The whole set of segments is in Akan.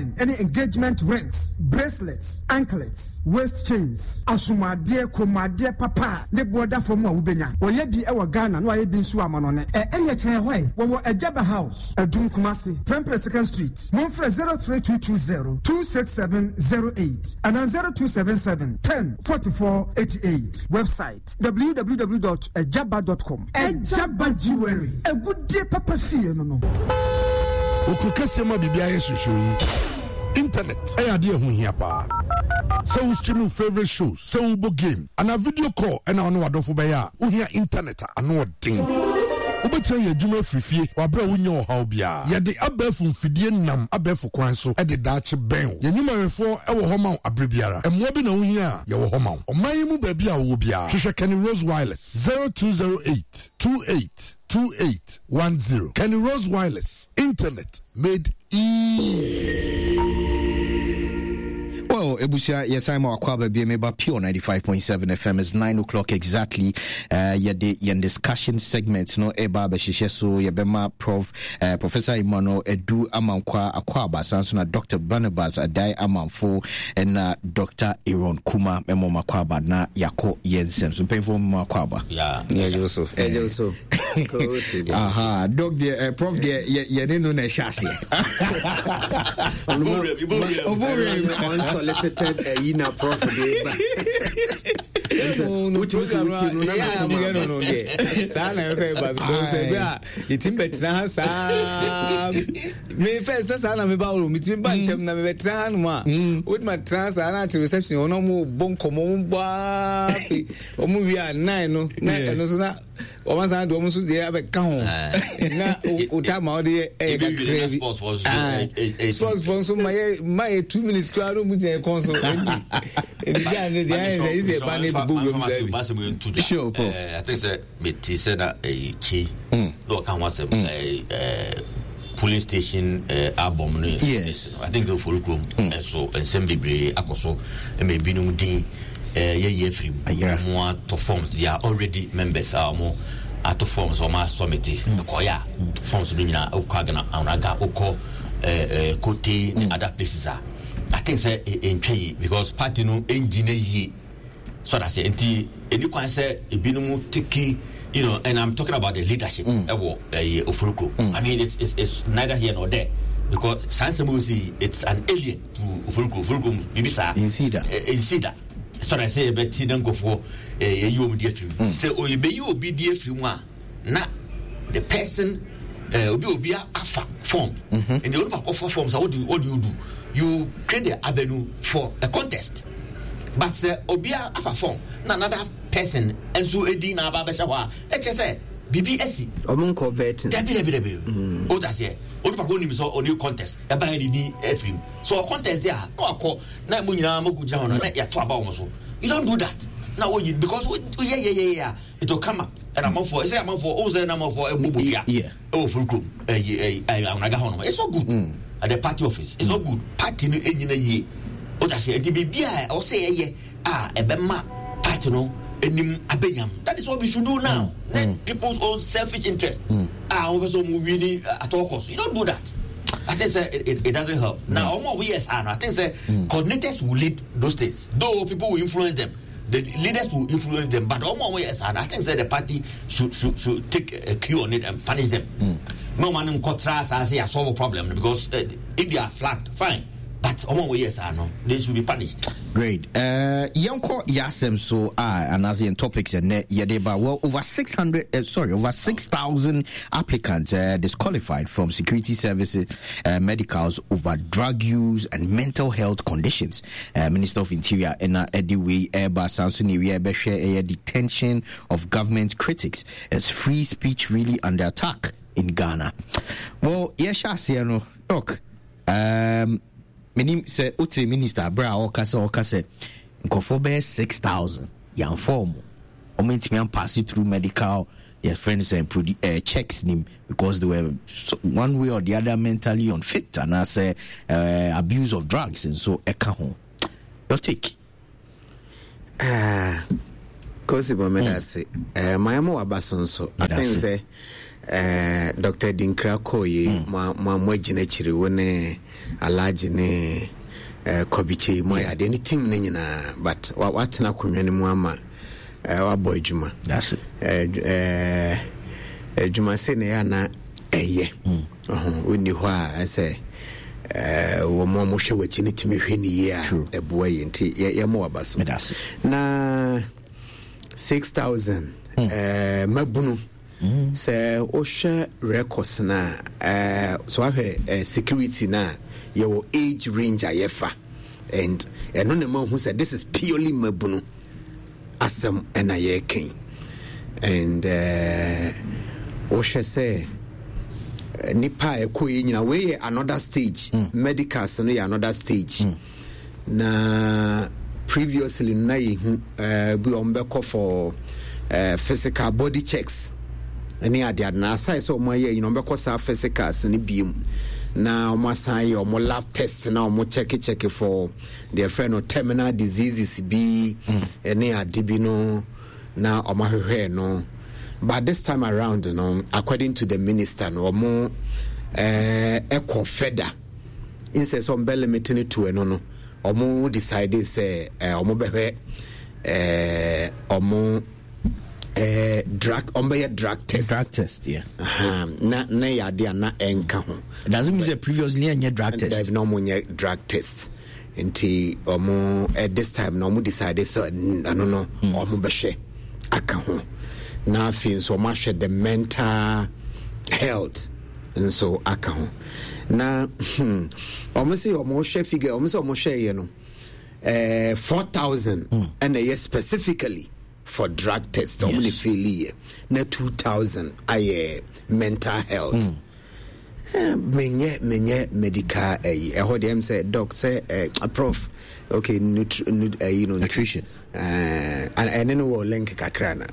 ne engagement rings, bracelets, anklets, waist chains, asomuadeɛ, kɔnmuadeɛ papa a ne boɔ da fam a wobɛnya. Wɔyɛ bi wɔ Ghana na wɔayɛ bi nso wɔ amanɔne. Ɛ ɛneɛ kyerɛ hɔ ɛ. Wɔwɔ Agyaba House, Adum, Kumasi, Prempeh Second Street. Momfrɛ 03220 26708 anaa 0277 10 44 88. Website, www dot agyaba dot com. Agyaba Jewelry, agudie papa fie no no. Wɔ kuro kɛseɛ mu a biribiara yɛ hyehyew yi, internet yɛ adeɛ a ɛho hia paa. Sɛ wo stream wo favourite shows, sɛ wobɔ game, anaa video call na wo ne w'adɔfo bɛyɛ a, wohia internet a ano ɔden. Wobɛtumi ayɛ adwuma afiri fie wɔ aberɛ a wonnya ɔhaw biara. Yɛde abɛɛfo mfidie nam abɛɛfo kwan so de daakye bɛn wo. Yɛn nnwumayɛfoɔ wɔ hɔ ma wo aberɛ biara. Mmoa bi na wohia a, yɛwɔ hɔ ma wo. Ɔman yi mu baabi a wowɔ biara, hwehwɛ Kenny Rose Wireless. 0208 28 28 10. Kenny Rose Wireless, internet made easy. Well, Ebusia, yes, I'm Akwaba Biemeba Pure 95.7 FM. It's 9 o'clock exactly. Yɛde yɛn discussion segment no ɛba abɛhyehyɛ so yɛbɛma Prof Professor Emmanuel Adu Amankwa Akwaaba san so na Dr. Barnabas Adai Amanfo ɛna Dr. Aaron Kuma mɛmɔ mo akwaaba na yɛakɔ yɛn nsɛm so mpanyinfoɔ mɛmɔ akwaaba. Yeah. Ɛgye so. Aha, doc deɛ eh, prof deɛ yɛne no na ɛhyɛ aseɛ. Unsolicited ɛyi na prof de ba. Wotumi sɛ wotie no na nakoma no deɛ saa na ɛsɛ sɛ ɛba because ɛbi a yɛtumi bɛtena ha saa me first sɛ saa na meba woro metumi ba ntɛm na mebɛtena ha nom a wotumi atena ha saa na ate reception hɔ na ɔmo bɔ nkɔmmɔ ɔmo bɔ afei ɔmo wie a nine no na ɛno nso na wɔn asan de wɔn nso deɛ abɛka ho na o ta ma ɔde yɛ ɛyɛ kakra bi sports fo nso ma yɛ ma yɛ 2 minutes koraa no mu gyina ɛkɔn so nti nti sɛ ane deɛ ayɛ sɛ ɛsɛ ɛba ne bɛbɔ wuram sɛ bi. Sure, prof. I think sɛ mete sɛ na ɛyi kyi na ɔka ho asɛm ɛɛ polling station album no. Yes. I think ofori kurom ɛso nsɛm bebree akɔ so ɛma ebinom din yɛyi afiri mu. Wɔn atɔ forms, they are already members a wɔn atɔ forms, wɔn asɔmite ɛkɔyɛ a forms no nyinaa okɔ agana anaga okɔ ɛɛ kote ne other places a I think sɛ ntwa yie because party no ngyina yie. So that's it. Nti ɛni kwan sɛ ebinom take and I'm talking about the leadership ɛwɔ ɛyɛ Oforikrom. I mean it's, it's it's neither here nor there because saa nsɛm wo si it's an alien to Oforikrom. Oforikrom biribi saa. Nsi da. Nsi da. So that's it. Yɛbɛti na nkurɔfoɔ yɛyi wɔn di afiri mu. Sɛ yɛbɛyi obi di afiri mu a na the person obi obi afa form. Nti onipa kɔfa form sa what do you do? You create the avenue for a contest. But sɛ obi afa form na another person nso edi na aba abɛhyɛ hɔ a, ɛkyɛ sɛ biribi asi. Ɔmo nkɔ vetting. Dabi dabi dabi. O ta seɛ onipa ko nim sɛ ɔne contest ɛba yɛ ne din afiri mu. So ɔ contest de a na wakɔ na mo nyinaa mo gyina hɔ no na yɛato aba wɔn so. You don't do that. Na woyi because woyɛ yɛ yɛ yɛ a it will come up. Ɛna amanfoɔ ɛsɛ amanfoɔ o sɛ ɛna amanfoɔ ɛbɔ bodua ɛwɔ furu kurom ɛyi ɛyi ahonaga hɔ nom. It's not good. At the party office it's not good. Party no ɛnyina yie. O ta seɛ nti biribi a ɛwɔ sɛ yɛyɛ a ɛbɛma party no anim abɛnyam. That is what we should do now. Mm. People's own selfish interest. A wɔn pɛ sɛ wɔn win at all cost. You don't do that. I think say it doesn't help. Now, mm. we yes, I think say coordinators will lead those things. Though people will influence them, the leaders will influence them. But all yes, and I think say the party should take a cue on it and punish them. No man in contra say I solve a problem because if they are flat, fine. But ɔmo a wɔyɛ saa no, they should be punished. Great. Yɛnkɔ yɛasɛm so a anaasɛ yɛn topics ɛnɛ yɛde ba. Well, over 600, sorry, over 6,000 applicants disqualified from security services medicals over drug use and mental health conditions. Minister of Interior ɛna ɛde wei ɛreba saa nso na ewia ɛbɛhwɛ ɛyɛ detention of government critics. Is free speech really under attack in Ghana? Well, yɛhyɛ aseɛ no, doc. Menim sɛ wote minister berɛ a ɔka sɛ ɔka sɛ nkurɔfoɔ bɛyɛ 6000 yɛamfa ɔmo ɔmo ntumi ampaase through medical yɛfrɛ no sɛ checks nim because they were so, one way or the other mentally unfit anaasɛ abuse of drugs nso ɛka ho. Your take? Kosi bɔ meda ase. Mayɛ ma waba so nso. I think sɛ Eh, Dr. Dinkra kɔɔ yi, mm. mo mo mo agyina akyiri wo ne Alhaji ne eh, Kɔbikye mo ayɛ adeɛ ne team no nyinaa but watena akonnwa no mu ama eh, wabɔ adwuma. Eh, eh, adwuma sei na ɛyɛ ana ɛyɛ. Mm. Wonni hɔ a ɛsɛ eh, wɔn a wɔhwɛ w'akyi no tumi hwɛ ne yie a ɛboa yi nti yɛmmɔ waba so. Na 6000 mm. eh, mabunu mm. Sɛ wohwɛ records no a eh, so wahwɛ eh, security no a yɛwɔ age range a yɛfa and ɛno na ma hu sɛ this is purely mabunu asɛm ɛna yɛreka yi and eh, wohwɛ sɛ eh, nipa a ɛkɔ yɛ nyina wei yɛ another stage mm. medicals no yɛ another stage mm. Na previously no na yɛhu uh, bi wɔn bɛkɔ for uh, physical body checks ne adeade na aside sɛ wɔn ayɛ yi na wɔn bɛkɔ saa physicals no biem na wɔn asan ayɛ wɔn lab test na wɔn check check for deɛ fɛ no terminal diseases bi mm. ne ade bi no na wɔn ahwehwɛ no but this time around no according to the minister no wɔn ɛkɔ eh, further. Instead sɛ ɔmo bɛ limit no to ɛno no, ɔmo decide sɛ eh, ɔmo bɛhwɛ eh, ɔmo eh, drug ɔmo bɛyɛ drug test. Drug test, yeah. Uh -huh. Na na yɛ ade a na ɛnka ho. Does it mean sɛ previously ɛnyɛ drug test? Dabi na ɔmo nyɛ drug test. Nti ɔmo eh, this time na ɔmo decide sɛ ɛno no hmm. ɔmo bɛhwɛ aka ho. Na afei nso ɔmo ahwɛ the mental health. nso aka ho na hmm, wɔn sɛ wɔn hwɛ figure wɔn sɛ wɔn hwɛ yɛ no ɛɛ eh, 4000 hmm. ɛna ɛyɛ specifically for drug test wɔn na faili yɛ na 2000 ayɛ mental health. Mm. Eh, menyɛ menyɛ medical ɛyi eh, ɛhɔ deɛ m sɛ doc sɛ eh, prof okay nutri nu ɛyi no nutrition ɛne no wɔ link kakra na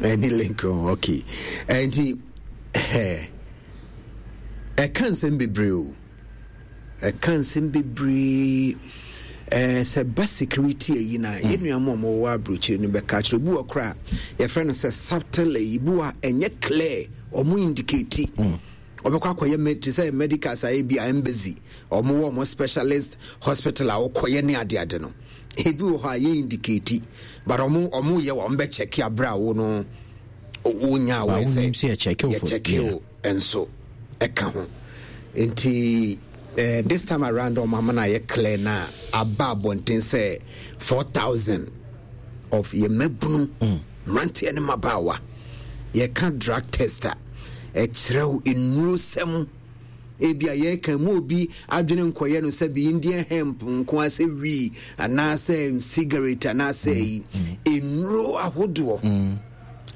ɛne link oh, okay nti Ɛhɛɛ. Ɛka nsɛm bebree o. Ɛka nsɛm bebree. Ɛɛ sɛ ba security ayi na mm. yɛn nua mu a wɔwɔ aburokyire no bɛka akyerɛ obi wɔ koraa yɛfrɛ no sɛ subtle ayi bi wɔ a ɛnyɛ clear wɔn indicate. Mm. Wɔbɛkɔ akɔyɛ te sɛ medical saa ebi a embassy wɔn wɔ wɔn specialist hospital a wɔkɔyɛ ne adeade no ebi wɔ hɔ a yɛ indicate but wɔn wɔn yɛ wɔn bɛ check abira wo no. Wonya aware sɛ yɛkyɛke wo nso ɛka ho nti eh, this time around ɔmo ama no ayɛ clear na aba abɔnten sɛ 4000 of yɛ mmabunu mm. mmeranteɛ ne mmabaawa yɛka drug test a ɛkyerɛw nnurosɛm Ebia yɛreka mu obi adwene nkɔyɛ no sɛ bi Indian hemp nko ara sɛ wii anaasɛ cigarette anaasɛ yi mm. nnuro ahodoɔ. Mm.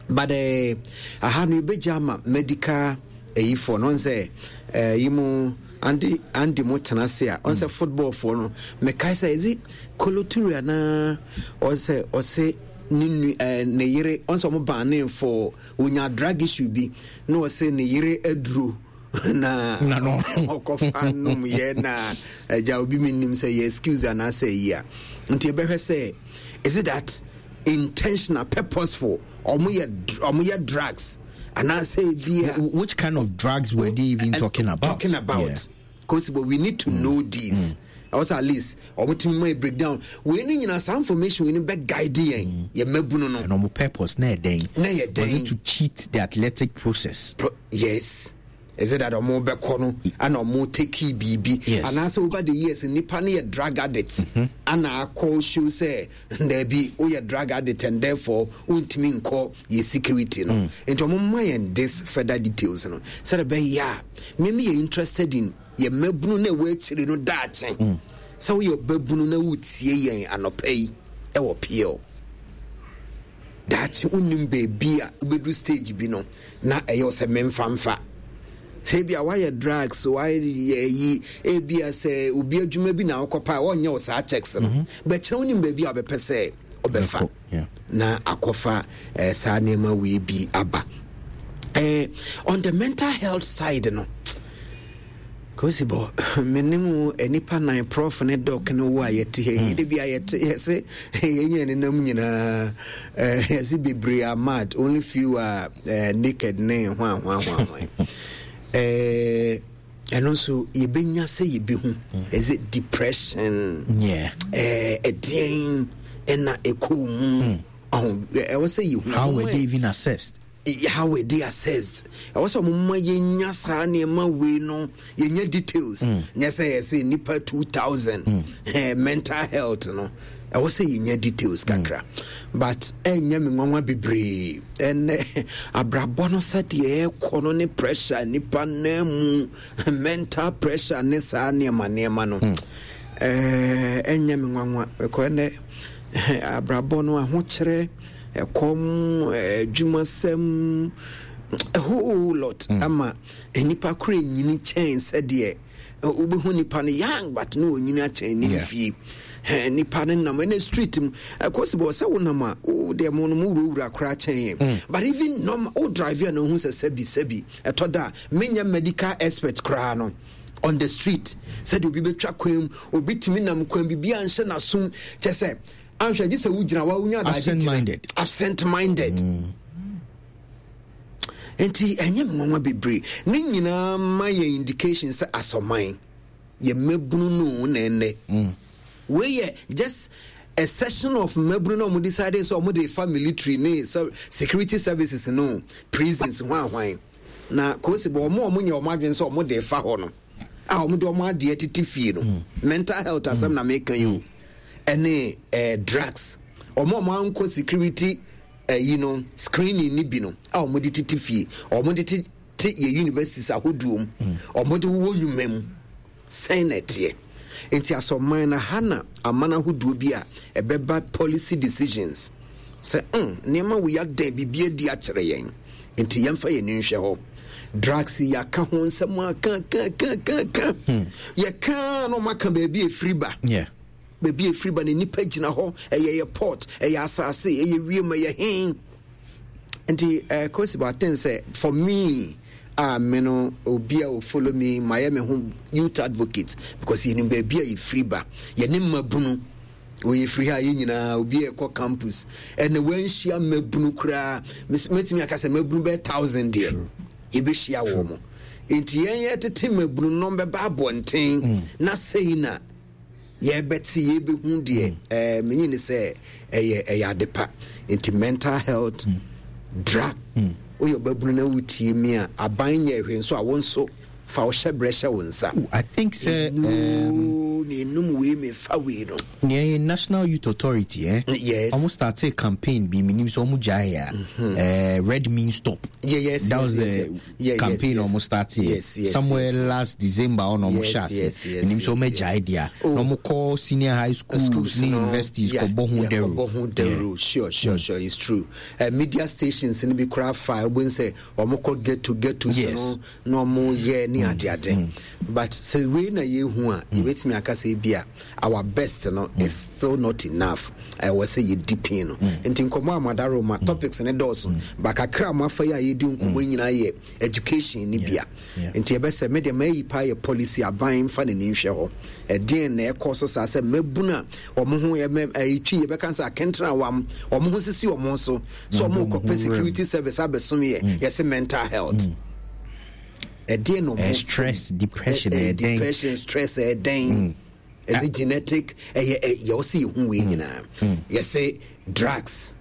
But eh, aha no ebegya ama medical eyifoɔ no sɛ eh, yi mu andi andi mo tena ase a ɔn sɛ mm. football foɔ no mekae sɛ ɛzi koloturi anaa ɔsɛ ɔse ne nu eh, ne yere ɔn sɛ ɔmo baane for onya drug issue bi na ɔse ne yere aduro na ɔkɔfa nom yɛ na agya obi menim sɛ yɛ excuse anaasɛ yi a nti ɛbɛhwɛ sɛ is it that intentional purposeful ɔmo yɛ ɔmo yɛ drugs anaasɛ ebi a which kind of drugs were they even talking about talking about yeah. Cause but we need to mm. know this. Mm. Also at least ɔmo tumi ma break down wei ni nyinaa saa information wei ni bɛ guide yɛn mm. yɛ mɛbunu no. And ɔmo purpose na yɛ dɛn. Na yɛ dɛn. Was it to cheat the athletic process. Yes. Is it that ɔmo bɛkɔ no ana ɔmo take biribi. Yes. Anaasɛ over the years nipa no yɛ drug addict. Mm -hmm. Ana akɔ show sɛ daabi woyɛ drug addict and therefore wontumi nkɔ yɛ security no. Mm. Nti ɔmo ma yɛn this further details no sɛdeɛ bɛyɛ a me me yɛ interested in yɛ mmabunu na ɛwɔ akyire no daakye mm. sɛ woyɛ ɔbabunu na wotie yɛn anɔpa yi ɛwɔ PL daakye wonim baabi a wobɛduru stage bi no na ɛyɛ sɛ memfamfa sɛ ebi a wayɛ drugs wayɛ yi ebi a sɛ obi adwuma bi na wokɔpa a wɔnyɛ wo saa checks no mhm. bɛkyerɛ wonim baabi a wobɛpɛ sɛ ɔbɛfa na akɔfa eh, saa nneɛma wei bi aba eh, on the mental health side no. Kosibɔ, me ne mu nnipa nan, Prof ne Doc ne wo a yɛte ha yi, de bia yɛte yɛse yɛnyɛ nenam nyinaa, eh, yɛse bebree are mad, only few are eh, naked ne hwan hwan hwan hwan. Eh, ɛno nso yɛbɛnya sɛ yɛbɛhu, is it depression? Yeah. Eh, ɛdeɛn ɛna ɛkɔɔ mu? Ɔho, ɛwɔ sɛ yɛhu. How were they even assessed? How were they assessed? Ɛwɔ sɛ wɔn ma yɛnya saa nneɛma wei no, yɛnya details. Mm. Nyɛ sɛ yɛsɛ nipa 2000 mm. eh, mental health no. Ɛwɔ sɛ yɛnya details mm. kakra. Mm. But ɛnyɛ me nwanwa bebree. Ɛnɛ abrabɔ no sɛdeɛ ɛkɔ no ne pressure nipa nan mu mental pressure ne saa nneɛma nneɛma no. Mm. Eh, ɛnyɛ me nwanwa. Ɛkɔ ɛnɛ abrabɔ no ahokyerɛ ɛkɔm, adwumasɛm, a whole lot mm. ama nnipa koro nyini kyɛn sɛdeɛ wobɛhu nipa no young but na ɔnyini akyɛn ne mfie nipa no nam ɛne street mu ɛkɔ si bɔ sɛ wonam a wo deɛ mo no mo wurawura koraa kyɛn yɛn mm. but even normal wo drive a na ohu sɛ sɛbi sɛbi ɛtɔ da menyɛ medical expert koraa no on the street sɛdeɛ obi bɛtwa kwan mu obi tumi nam kwan bibi anhyɛ n'asom kyɛ sɛ anhwɛ gye sɛ wogyina wa wonya adagye gyina absent minded mm. nti ɛnyɛ me nwanwa bebree ne nyinaa ma yɛ indication sɛ asɔman yɛ mmabunu no na ɛnɛ mm. wei yɛ just a session of mmabunu na wɔn decide sɛ wɔn de fa military ne security services no prisons ho ahwan na kosi bɔ wɔn a wɔn nyɛ wɔn adwene sɛ wɔn de fa hɔ no a wɔn de wɔn adeɛ tete fie no mm. mental health asɛm mm. na meka yi o. Ɛne eh, drugs. Wɔn a wɔn ankɔ security ɛyi eh, no screening ni bi no a wɔn de tete fie, wɔn de tete yɛ universities ahodoɔ mu, mm. wɔn de wowɔ nnwuma mu. Sɛn na ɛteɛ? Nti asɔman na ha na aman ahodoɔ bi a ɛbɛba policy decisions sɛ mm, nneɛma wei adɛn biribi adi akyerɛ yɛn nti yɛmfa yɛn ani nhwɛ hɔ drugs yɛaka ho nsɛm aka ka ka ka ka hmm. yɛka na ɔmaka baabi ɛfiri ba yeah. baabi ɛfiri ba na nipa gyina hɔ ɛyɛ yɛ port ɛyɛ asase ɛyɛ wiem ɛyɛ hen nti eh, kosi but I think sɛ for me a me no obi a follow me mayɛ me ho youth advocate because yɛnim baabi a yɛfiri ba yɛne mmabunu Wɔyɛ firi ha yɛ nyinaa obi a ɛkɔ campus ɛnna wɔanhyia mmabunu koraa mɛtumi aka sɛ mmabunu bɛyɛ thousand deɛ yɛbɛhyia wɔ mo nti yɛn yɛtete mmabunu no bɛba abɔnten mm. na sei na yɛbɛte yɛbɛhu deɛ mm. ɛɛ menyi ne sɛ ɛyɛ ɛyɛ ade pa nti mental health mm. drug woyɛ ɔbabunu na wotie mi a aban nyɛ hwee nso a wo nso Fa wo hyɛbrɛ hyɛ wo nsa. I think sɛ. Nnuro menum wei mefa wei no. Nea yɛ National Youth Authority eh. Yes. Ɔmo startee campaign bi menim sɛ ɔmo gyae a. Mm-hmm. Eh, Red means stop. Yeah, yes, That yes, was yes, the yeah, campaign yes, ɔmo startee. Yes, yes, Somewhere yes, yes. last December ɔna ɔmo Yes, hyɛ ase. yes, yes, Menim sɛ ɔmo yes, agyae yes. deɛ. Oh. Na ɔmo kɔ senior high schools, schools ne no, universities yeah, kɔbɔ ho yeah, dawuro. kɔbɔ ho dawuro. Sure, sure, sure, it's true. Uh, media stations no bi koraa fa wobɛhu sɛ ɔmo kɔ ghetto ghettos Yes. no na ɔmo yɛ ne mm. adeade mm. but sɛ wei na yɛhu a mm. yɛbɛtumi aka sɛ bi a our best no is still not enough ɛwɔ sɛ yɛdi pin no nti nkɔmmɔ a madaro ma topics ne dɔɔso ba kakra a moafa yi a yɛdi nkɔmmɔ nyinaa yɛ education ne bia nti yɛbɛsɛ me deɛ mayi paa yɛ policy aban mfa n'ani nhwɛ hɔ ɛdeɛn na ɛkɔ so saa sɛ mmabunu a wɔn ho ɛtwi yɛbɛka sɛ akɛntena wam wɔn ho sisi wɔn so sɛ wɔn kɔpɛ security service abɛsom yɛ yɛsɛ mental health ɛdeɛn na wɔn stress depression ɛdɛn depression stress ɛdɛn ɛsɛ genetic ɛyɛ yɛ ɔsɛ yɛhu wei nyinaa yɛsɛ drugs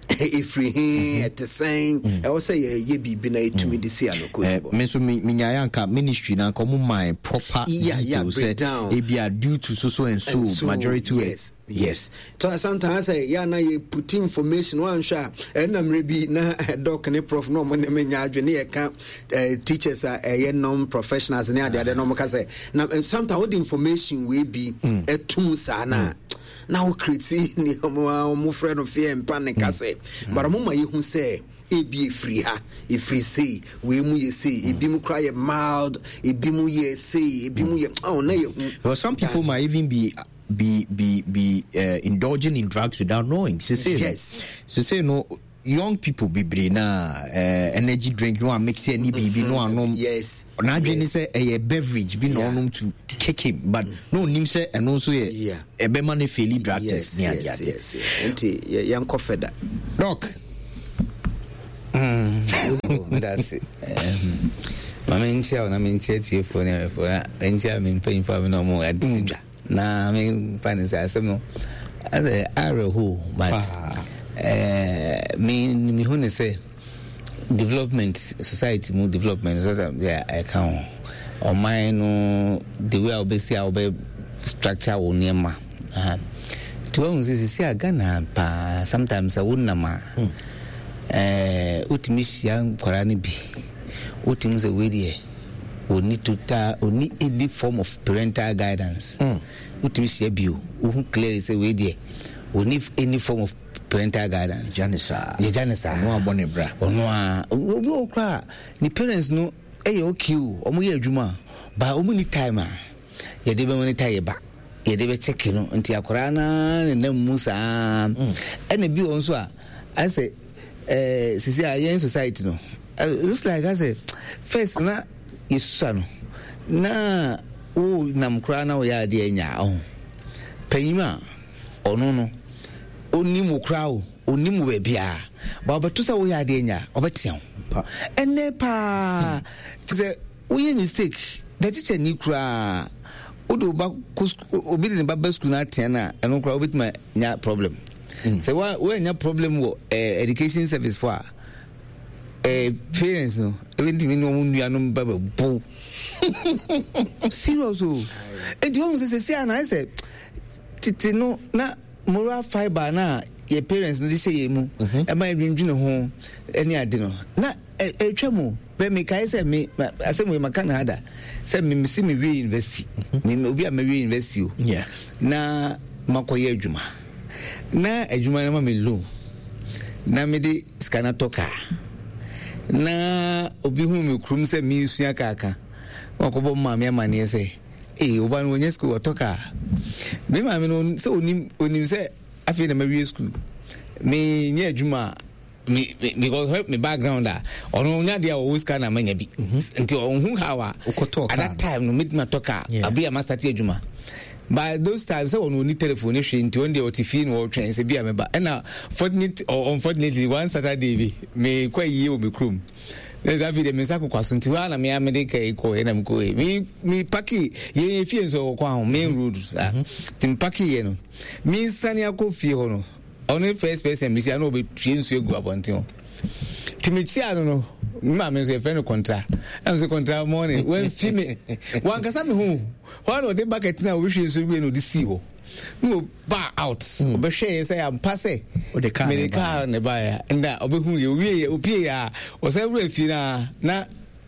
ɛfiri he mm-hmm. ɛte sɛn mm. ɛwɔ sɛ yɛyɛ biribi na yɛtumi de si ano kɔsi bɔ me nso menyaeɛ anka ministry na anka ɔmo mae proper details sɛ ebia due to so so and so, and so majority yes yes sometimes sɛ yɛ ana yɛ put information wanhwɛ a ɛna mmerɛ bi na doc ne prof na ɔmo ne me nya adwene ne yɛka eh, teachers a ɛyɛ non professionals ne adeade na ɔmo ka sɛ na eh, sometimes wode information wei bi ɛtum mm. saa na mm. na wo create ne ɔmo a ɔmo frɛ no fear and panic mm. asɛ but ɔmo ma yɛhu sɛ ebi efiri ha efiri sei wei mu yɛ sei ebi mu kora yɛ mild ebi mu yɛ sei ebi mu yɛ ɔn na yɛ hu. Well, some people might even be be be be uh, indulging in drugs without knowing. Sese yes. Sese no. Young people bebree na eh, energy drink no a mix ne biribi no anom. Yes. N'adwene ne sɛ ɛyɛ beverage bi na ɔnom to kick him but na onim sɛ ɛno nso yɛ ɛbɛma no faili drug test ne ade ade. Yes, yes, nti yɛnkɔ fɛda. Doc. Medase. Ma menkyia wo na menkyia tiefoɔ ne awɛfoɔ na menkyia me mpanyimfoɔ a me na ɔmo ade si dwa. Na me fa ne sɛ asɛm no asɛ awerɛhow but eh, me mehu ne sɛ development society mu development so sɛ deɛ ɛka ho ɔman no the way a wobɛsi a wobɛ structure wo nneɛma nti wahu sɛ sisi a Ghana paa sometimes sɛ wonam a hmm. eh, wotumi hyia nkwadaa no bi wotumi sɛ wei deɛ Ɔnni total, ɔnni any form of parental guidance. Wotumi hyia bi o, wohu clearly sɛ wei deɛ ɔnni any form of parental guidance. Yɛgya ne saa. Yɛgya ne saa. Ɔno abɔ ne bra. Ɔno a, obi wɔ koraa ne parents no ɛyɛ okay o, wɔn yɛ adwuma ba wɔn ni time a yɛde bɛ monitor yɛ ba, yɛde bɛ check no nti akwaraa naa ne nam mu saa. Ɛna bi wɔ nso a, asɛ eh, sisi a yɛn society no eh, looks like asɛ first na yɛsusua no na wo nam koraa na woyɛ adeɛ nya ɔho panyin a ɔno no onim wo koraa o onim wo baabiara ba ɔbɛto sɛ woyɛ adeɛ nya ɔbɛtea wo ɛnɛ paa te sɛ Woyɛ mistake na teacher ni koraa wode wo ba kɔ obi de ne ba ba school na atea no a ɛno koraa wobɛtumi anya problem mm. sɛ woanya problem wɔ eh, education service fo a eh, parents no ɛbɛntumi ne wɔn nuanom ba bɛbo serious o nti wɔn sɛ sɛsi a na ayɛ sɛ tete no na moral fiber na yɛ parents no de hyɛ yɛn mu mhm. ɛma yɛdwendwene ho ne ade no na ɛtwa mu bɛ mekae sɛ me asɛm wei maka no ha da sɛ me mese mewie university mhm. me obi a mawie university o na makɔyɛ adwuma na adwuma no ma me loan na mede sika no atɔ kaa na obi hu me kurom sɛ mesua kaa ka wakɔbɔ maame amanneɛ sɛ ee ɔba no wɔnyɛ sukuu wɔtɔ kaa me maame no sɛ onim onim sɛ afei na mawie sukuu menyɛ adwuma a me me because hwɛ me background a ɔno nya deɛ a ɔwɔ sika na manya bi mhm. nti ɔnhu how a at that time no metumi atɔ kaa abi a masate adwuma but those times sɛ ɔno ɔni telephone ne hwee nti ɔno deɛ ɔte fie na ɔretwɛn sɛ bi a mɛba ɛna fortunate or unfortunately one saturday bi mekɔ ayie wɔ me kurom na sɛ afei deɛ me nsa kokwa so nti hɔ a na mea mede ka yi kɔɛ na mekɔɛ me me paki yɛn yɛ fie nso wɔ kwan ho main road saa mhm. nti me paki yɛ no me nsane akɔ fie hɔ no Ɔno first person mehyia na ɔbɛtue nsuo agu abɔnten hɔ nti mekyia no no me maame nso yɛfrɛ no kɔntra ɛna sɛ kɔntra mɔne wamfi me wankasa me ho hɔ na ɔde bucket na ɔbɛhwie nsuo wie na ɔde sii hɔ na ɔba out hmm. ɔbɛhwɛ yɛ sɛ ampa sɛ mede kaa ne baeɛ nda ɔbɛhu yɛ owie yɛ opie yɛ a ɔsɛ wura fie no a na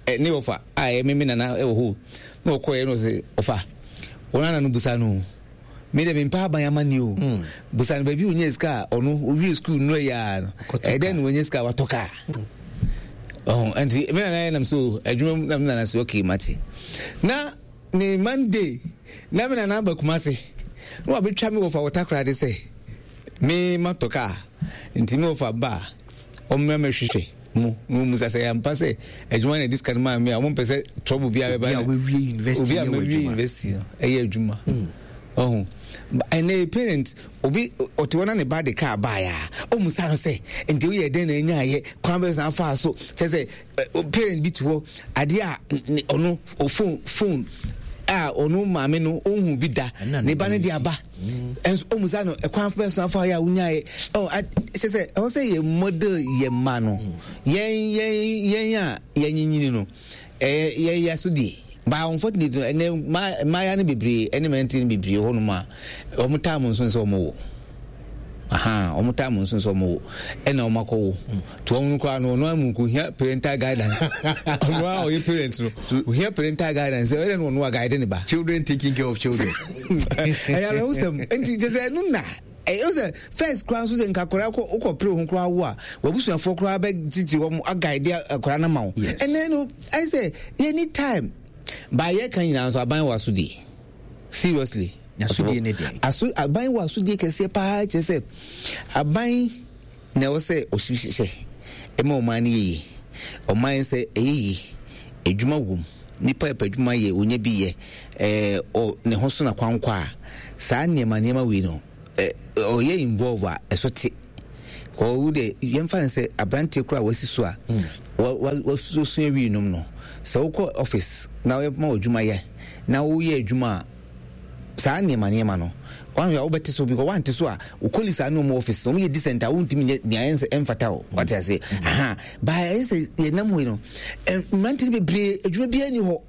eh, ne ɔfa a ɛyɛ me me nana ɛwɔ hɔ na ɔkɔɛ na ɔsɛ ɔfa wɔn ana no busa no Me deɛ mempɛ aban amanneɛ o. Mm. Busa no baabi ɔnya sika a ɔno ɔwie sukuu nnura yi ara no. Ɛyɛ dɛn na wanya sika a watɔ kaa? Ɔho nti me nana nam so adwuma mu na me nana so okay mate. Na ne Monday na me nana aba Kumase na wabɛtwa me wɔfa wɔ Takoradi sɛ me matɔ kaa nti me wɔfa ba a ɔmmra mɛhwehwɛ. mu na wɔn musa sɛ yɛampa sɛ adwuma na ɛde sika no maa me a wɔn mpɛ sɛ trouble biara bɛba obi a wawie university obi a mawie university no ɛyɛ adwuma hmm. ɔho ɛnɛ parent obi ɔte hɔ na ne ba de kaa baeɛ a ɔmusa no sɛ nti woyɛ dɛn na anya ayɛ kwan bɛ san faa so kyɛ sɛ parent bi te hɔ adeɛ a ɔno phone phone a ɔno maame no ɔnhu bi da ne ba no de aba ɛnso ɔmu sa no ɛkwan fɛ so afa yɛ a wonyaeɛ ɔ sɛ sɛ ɛwɔ sɛ yɛ model yɛ mma no yɛn yɛn yɛn a yɛnyinyini no ɛyɛ yɛn yɛ so deɛ but unfortunately ɛnɛ mmaaya no bebree ɛne mmeranteɛ no bebree hɔ nom a wɔn taa mo nso sɛ wɔn wɔ aha wɔn taa mo nso sɛ wɔn wɔ ɛna wɔn akɔ wo To wɔn no koraa no ɔno amu nko hia parental guidance ɔno a ɔyɛ parent no ohia parental guidance ɛyɛ no ɔno a guide ne ba. Children taking care of children. Ɛyɛ awerɛhosɛm nti kyɛ sɛ ɛno na ɛyɛ sɛ first koraa nso sɛ nka akwadaa kɔ wokɔ pere ho koraa wo a wabusuafoɔ koraa bɛgyegye wɔn aguide akwadaa no ma wo ɛnɛ no ɛyɛ sɛ yɛni time baayɛ ka nyinaa nso aban wɔ asodie seriously. Asodie ne deɛ aso aban wɔ asodie kɛseɛ paa kyerɛ sɛ aban. na ɛwɔ sɛ ɔhyehyɛ ma ɔman no yɛ yie. Ɔman sɛ ɛyɛ yie, adwuma wom, nipa ɛpɛ adwuma yɛ, ɔnya bi yɛ, ɛɛ ɔ ne ho so na kwankwa a, saa nneɛma nneɛma wei no, ɛ ɔyɛ involve a, ɛso te. Kɔ wo deɛ yɛmfa no sɛ aberanteɛ koraa a wasi so a, wa wa wasua wii nom no, sɛ wokɔ office na wɔma wo adwuma yɛ, na woyɛ adwuma a, saa nneɛma nneɛma no wanhwɛ a wobɛte so because wante so a wo colleagues a ne wɔn office wɔn yɛ decent a wontumi nyɛ nea ɛnsɛ ɛmfata o wate ase aha baa ɛyɛ sɛ yɛnam hɔ yi no mmerante no bebree adwuma biara ni hɔ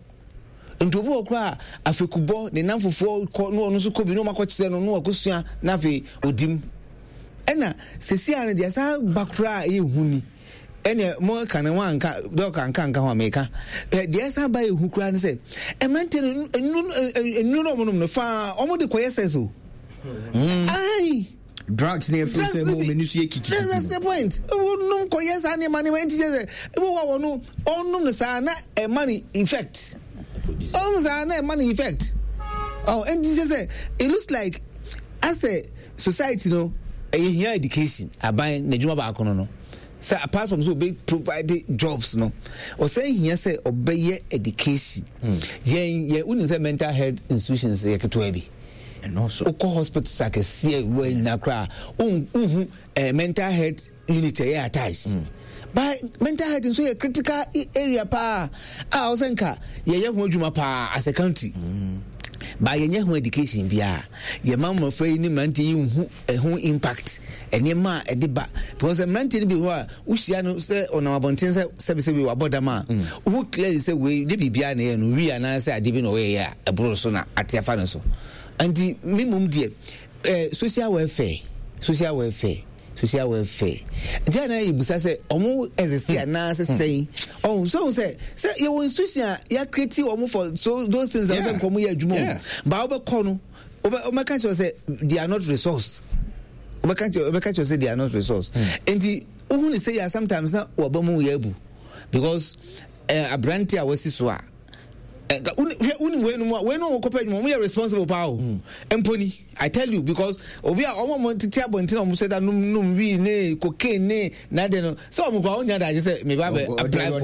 nti obi wɔ koraa afekubɔ ne nam fofoɔ kɔ ne ɔno nso kɔ bi ne wɔn akɔkyerɛ no ne wakɔsua na afei odim ɛna sɛsi a no deɛ saa ba koraa ɛyɛ hu ni Ɛneɛ mo ka no wanka dɔk anka nka ho a meka ɛ deɛ ɛsan ba ehu koraa ne sɛ mmeranteɛ no nnuro nnuro no wɔn nom no faa wɔn de kɔyɛ sɛs o. Ayi. Drugs ne efiri sɛ mo menu so yɛ kiki. That's the point. Wɔn nom kɔyɛ saa nneɛma nneɛma nti kyɛ sɛ ebi wɔ wɔn no ɔnom no saa na ɛma no effect. Ɔnom saa na ɛma no effect. Ɔ nti kyɛ sɛ it looks like asɛ society no ɛyɛ hia education aban n'adwuma baako no no. Sɛ apart from sɛ ɔbɛ provide jobs no, ɔsan hia sɛ ɔbɛyɛ education. Yɛn yɛ wonim sɛ mental health institutions yɛ ketewa bi. Wokɔ hospitals akɛseɛ wɔ nyina koraa wonhu eh, mental health unit ɛyɛ attached. But mental health nso yɛ critical area paa a ɔsɛ nka yɛyɛ ho adwuma paa as a country. But yɛnyɛ ho education biara. Yɛma mmɔfra yi ne mmeranteɛ yi nhu ɛho impact, nneɛma a ɛde ba. Because mmeranteɛ no bi hɔ a wohyia no sɛ ɔnam abɔnten sɛ sɛbisɛbi wabɔ dam a, wohu clearly sɛ wei nyɛ biribiara na ɛyɛ no, wii anaasɛ adeɛ bi na ɔyɛeɛ a ɛboro so na ate afa no so. Nti me mmom deɛ, eh, social welfare, social welfare, social welfare. Nti a na yɛbusa sɛ ɔmo exist anaasɛ sɛn? Ɔho sɛ ɔho sɛ sɛ yɛwɔ institution a yɛakreti ɔmo for so those things a wɔsɛ nka ɔmo yɛ adwuma o. Ba wobɛkɔ no, wobɛka kyerɛ sɛ they are not resourced. Wobɛka kyerɛ wobɛka kyerɛ sɛ they are not resourced. Nti wohu ne sɛ yɛ sometimes na waba mu yɛ abu because eh, aberante a wasi so a hwɛ wonim wei nom a wei nom a wɔkɔpɛ adwuma wɔn yɛ responsible paa o mpo ni I tell you because obi a wɔn a wɔn tete abɔnten a wɔn sɛ da nom nom wii ne cocaine ne n'ade no sɛ wɔn kora wɔn nya daagye sɛ meba abɛ apply for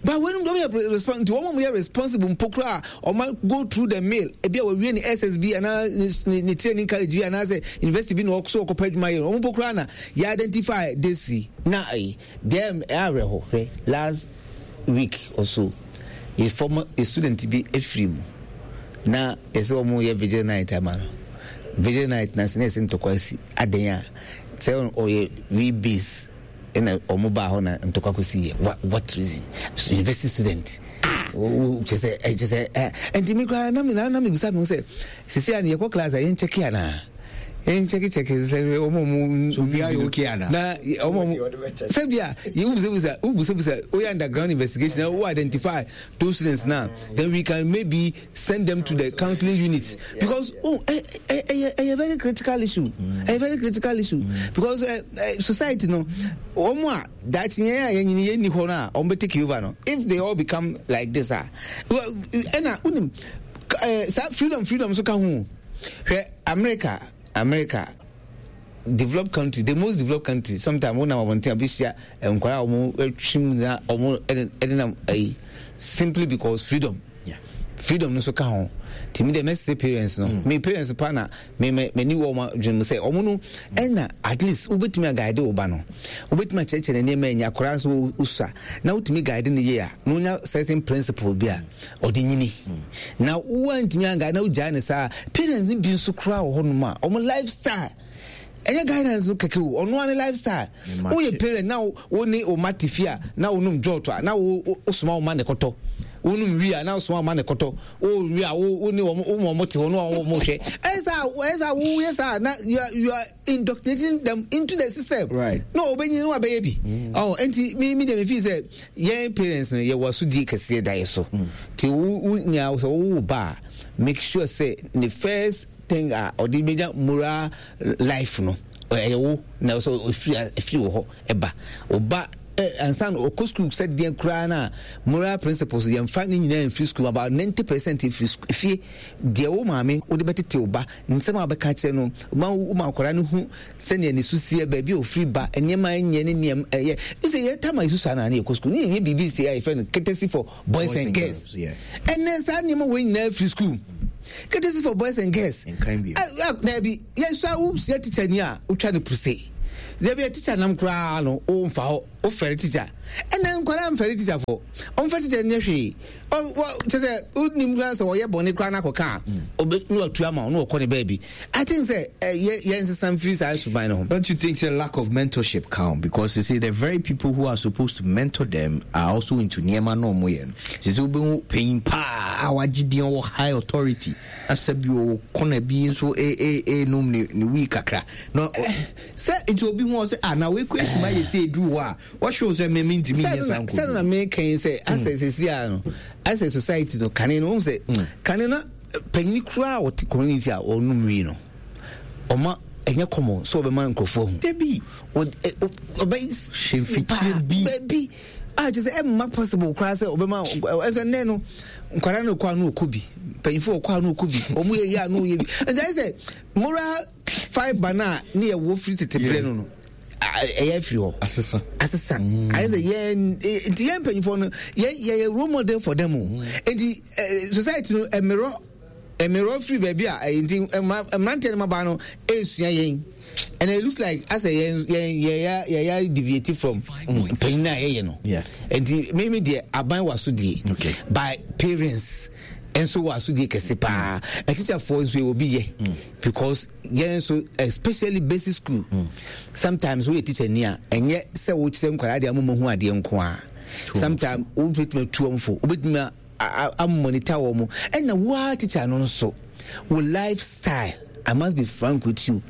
but wei nom deɛ wɔn yɛ responsible nti wɔn a wɔn yɛ responsible mpo koraa wɔn go through the mill ebi a wɔawie ne SSB anaa ne ne training college bi anaasɛ university bi na wɔn so wɔkɔpɛ adwuma yɛ wɔn mpo koraa na yɛ identify this na ayi deɛ ɛyɛ awerɛho hwɛ last week or so yɛ former yɛ student bi efiri mu na yɛsɛ wɔn yɛ vigil night ama no vigil night na sɛ na yɛsɛ ntɔkwa asi adan a sɛ ɔyɛ we base ɛna wɔn baa hɔ na ntɔkwa kɔsi yɛ what what reason university student wo kyɛ sɛ ɛ kyɛ sɛ ɛ nti mi koraa na mi na na mi bisa mi ho sɛ sisi a yɛkɔ class a yɛn kyɛke anaa yɛn kyɛke kyɛke sɛ wɔn a wɔn so obiara yɛ okay ana na wɔn a wɔn sɛ bia yɛ wubusabusa wubusabusa oyɛ underground investigation na wo identify those students na then we can maybe send them to the counseling unit because oh ɛ ɛ ɛyɛ ɛyɛ very critical issue ɛyɛ very critical issue because ɛ ɛ society no wɔn a daakye yɛn a yɛn nyini yɛn ni hɔ no a wɔn bɛ take over no if they all become like this ah ɛna wunim ɛɛ saa freedom freedom so ka ho hwɛ America America developed country the most developed country sometimes wɔn nam abɔnten a bɛhyia nkwadaa a wɔn atwim na wɔn ɛde nam ayi simply because freedom freedom no so ka ho nti mi deɛ mɛsese parents no mm. me parents pa na me me m'ani wɔ wɔn adwene mu sɛ wɔn no ɛna at least wobɛtumi aguide wo ba no wobɛtumi akyerɛkyerɛ ne nneɛma anya akwadaa nso wosua na wotumi guide no yie a na wonya certain principle bi a ɔde nyini mm. na woantumi anguide na wogyae ne saa parents no bi nso koraa wɔ hɔnom a wɔn lifestyle ɛnyɛ guidance no kɛkɛ o ɔno ara ne lifestyle woyɛ parent na wo ne wo ma te fie a na wonom jɔt a na wo wosoma wo ma ne kɔtɔ wonom wi a na wosoma wo ma ne kɔtɔ wo wi a wo wo ne wɔn wo ma wɔn te hɔ na wɔn wɔn hwɛ ɛyɛ saa ɛyɛ saa woyɛ saa na you are you are indoctrinating them into the system right na ɔbɛnyin na wabɛyɛ bi ɔn nti mi mi deɛ mi fi sɛ yɛn parents no yɛ wɔ asodie kɛseɛ da yɛ so ti wo wo nya sɛ wo ba a make sure sɛ ne first thing a ɔde bɛnya moral life no ɛyɛ wo na sɛ ɛfiri ɛfiri wɔ hɔ ɛba ɔba. Ansa na ɔkɔ school sɛ deɛ koraa no a, moral principles yɛmfa ne nyinaa mfiri school, about 90% firi fie. Deɛ wo maame wode bɛtete wo ba, nsɛm a wobɛka akyerɛ no, ma woma akwadaa no hu sɛnea ne su seɛ, baabi a ɔfiri ba, nneɛma a ɛnyɛ ne nneɛma ɛyɛ. Sɛ yɛ tam a yɛsu saa na ne yɛkɔ school ne yɛyɛ biribi sɛ a yɛfrɛ no courtesy for boys and girls. Ɛnɛ saa nneɛma wei nyinaa firi school. Courtesy for boys and girls. Daabi, yɛsua wohyia teacher ni a wotwa no puse. Dabi a teacher nam koraa no womfa hɔ, wofɛre teacher. Ɛnɛ nkwadaa mfɛre teacher fo. Ɔmfa teacher nyɛ hwee. Kyɛ sɛ wonim koraa sɛ ɔyɛ bɔne koraa no akɔka a, ɔbɛ na watu ama wo na ɔkɔ ne baabi. I think sɛ yɛ yɛnsesa mfiri saa suban no ho. Don't you think sɛ lack of mentorship count because they say the very people who are supposed to mentor them are also into nneɛma na wɔn yɛ no. Sɛ sɛ wobɛhu panyin paa a wagye din ɔwɔ high authority na sɛ bi ɔwɔ kɔna bi nso ɛnum ne wii kakra na sɛ nti obi hu ɔsɛ ah na wei kɔ esima yɛ sɛ eduru hɔ a wɔhwɛ wo sɛ me mentumi nyɛ saa nkɔdu. Sɛ na meka yi sɛ asɛ sɛsi a no asɛ society no kane no wohu sɛ kane no panyini koraa a ɔte community a ɔnom wii no ɔma ɛnyɛ common sɛ ɔbɛma nkurɔfoɔ ahu. Dabi. Ɔbɛyɛ paa baabi a kyerɛ sɛ ɛmma possible koraa sɛ ɔbɛma ɛsɛ nnɛ no nkwadaa no kɔ ano ɔkɔ bi mpanyinfoɔ ɔkɔ ano ɔkɔ bi wɔn yɛ yɛ ano yɛ bi nti ayɛ sɛ moral fibre no a ne yɛ wɔ firi tete berɛ no no ɛyɛ afiri hɔ asesa asesa mm. Ayɛ sɛ yɛn nti yɛn mpanyinfoɔ no yɛn yɛyɛ role model for them o nti society no ɛmmerɔ ɛmmerɔ firi baabi a ɛyɛ nti mmeranteɛ no mmabaa no esua yɛn and it looks like asɛ yɛn yɛn yɛyɛ yɛyɛ deviate from mpanyin a yɛyɛ no nti mímí deɛ aban wɔ so die by parents nso wɔ asodie kɛse paa atikyafoɔ nso yɛ obi yɛ because yɛn nso especially basic school sometimes woyɛ teacher ni a ɛnyɛ sɛ wokyerɛ nkwadaa deɛ amoma hu adeɛ nko a sometimes wobɛtumi atu wɔn fo, wobɛtumi amonitor wɔn mo, ɛna woa teacher no nso wo lifestyle, I must be frank with you.